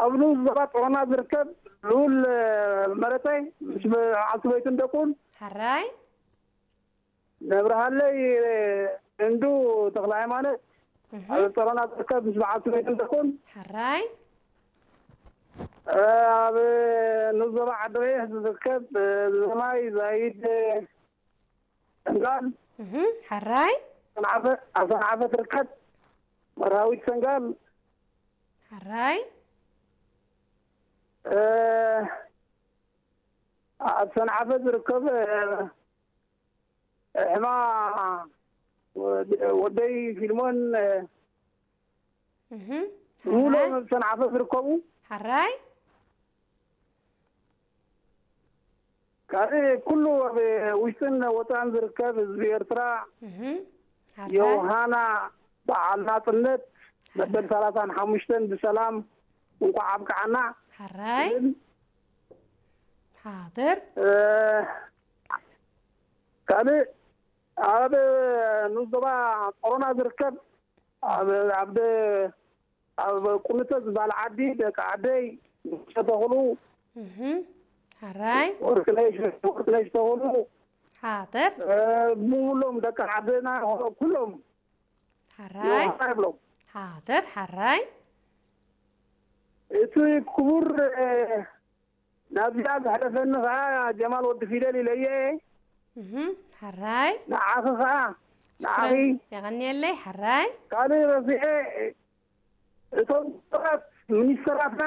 ኣብ ንኡስ ዞባ ጸሮና ዝርከብ ልኡል መረጸ ምስ በዓልቲ ቤቱን ደቁን። ሓራይ። ነብርሃለይ እንዱ ተኽለ ሃይማኖት ኣብ ጸሮና ዝርከብ ምስ በዓልቲ ቤቱን ደቁን። ሓራይ። ኣብ ንኡስ ዞባ ዓዲ ቀይሕ ዝርከብ ዘማይ ዛይድ ሰንጋል። ሓራይ። ኣብ ሰንዓፈ ትርከብ መርሃዊት ሰንጋል። ሓራይ። ኣብ ሰንዓፈ ዝርከብ ሕማ ወደይ ፊልሞን ውሎም ኣብ ሰንዓፈ ዝርከቡ። ሓራይ። ካልእ ኩሉ ኣብ ውሽጥን ወፃእን ዝርከብ ህዝቢ ኤርትራ፣ ዮሃና በዓል ናፅነት መበል ሰላሳን ሓሙሽተን ብሰላም እንኳዕ ኣብቅዓና። ሓራይ። ሓድር። ካልእ ኣብ ንኡስ ዞባ ጸሮና ዝርከብ ኣብ ኣብ ደ- ኣብ ቁንተ ዝበሃል ዓዲ ደቂ ዓደይ ንጉሰ ተኽሉ፣ ሓራይ። ወርቅነሽ ወርቅነሽ ተኽሉ፣ ሓድር። ሙሉም ደቂ ዓደና ኩሎም ሓራይ። ይብሎም። ሓድር። ሓራይ። እቲ ክቡር ናብዚኣ ዘሕለፈኒ ከዓ ጀማል ወዲ ፊደል ኢለየ። ሓራይ። ንዓኺ ከዓ ንዓኺ የቐንየለይ። ሓራይ። ካልእ ረሲዐ እቶም ክቡራት ሚኒስተራትና፣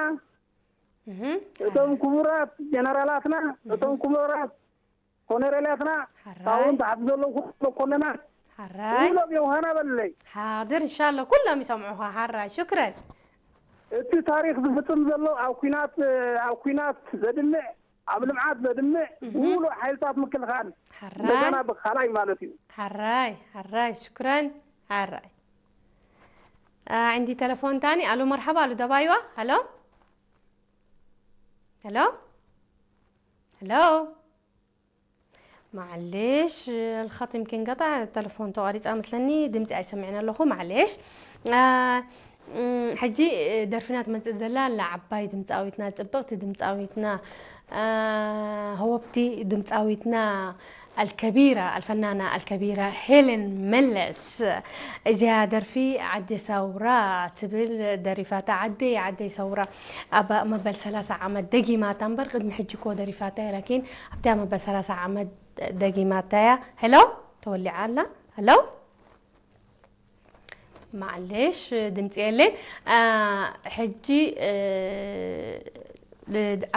እቶም ክቡራት ጀነራላትና፣ እቶም ክቡራት ኮነሬላትና፣ ካብኡን ታሕቲ ዘለዉ ኩሎም መኮንናት ሓራይ። ኩሎም ዮሃና በለይ። ሓድር እንሻሎ ኩሎም ይሰምዑኻ። ሓራይ። ሽክረን። እቲ ታሪክ ዝፍፅም ዘሎ ኣብ ኩናት ኣብ ኩናት ዘድምዕ ኣብ ልምዓት ዘድምዕ ሙሉእ ሓይልታት ምክልኻል ሓራይ። እንደገና ብካላይ ማለት እዩ። ሓራይ። ሓራይ። ሽክረን። ሓራይ። عندي تلفون تاني. الو، مرحبا. الو، دبايوا. الو. الو. الو. معليش، الخط يمكن قطع، التلفون ተቋሪጻ መስለኒ፣ ድምጺ ኣይሰምዕን ኣለኹ። معليش. ሕጂ ደርፊና ትመጽእ ዘላ ኣላ ዓባይ ድምጻዊትና፣ ጽብቕቲ ድምጻዊትና፣ ሃወብቲ ድምጻዊትና፣ الكبيرة، الفنانة الكبيرة هيلين ملس. እዚኣ ደርፊ ዓዲ ሰውራ ትብል ደሪፋታ። ዓደይ ዓደይ ሰውራ ኣብ መበል ሰላሳ ዓመት ደጊማታ እምበር፣ ቅድሚ ሕጂ እኮ ደሪፋታ እያ። ላኪን ኣብቲኣ መበል ሰላሳ ዓመት ደጊማታ እያ። ሄሎ፣ ተወሊዓ ኣላ። ሄሎ። ማዕሌሽ፣ ድምፂ የለን። ሕጂ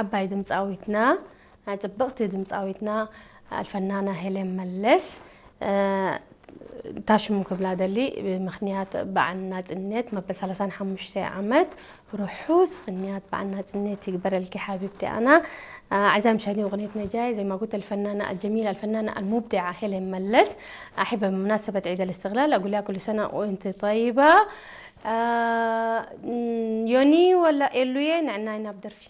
ዓባይ ድምፃዊትና፣ ፅብቕቲ ድምፃዊትና ኣልፈናና ሄለን መለስ፣ ታሽሙ ክብላ ደሊ። ብምኽንያት በዓል ናፅነት መበል ሰላሳን ሓሙሽተ ዓመት ርሑስ ቅንያት በዓል ናፅነት ይግበረልኪ ሓቢብቲ ኣና። ኣዕዛም ሸኒ ወቕኔት ነጃይ ዘይማጉት ኣልፈናና ኣልጀሚል ኣልፈናና ኣልሙብዲዓ ሄለን መለስ ኣሒበ ብመናሰበት ዒድ ኣልስትቕላል ኣጉልያ ኩሉ ሰና ወእንቲ ጠይባ። ዮኒ ወላ ኤሉየ ንዕናይ ናብ ደርፊ።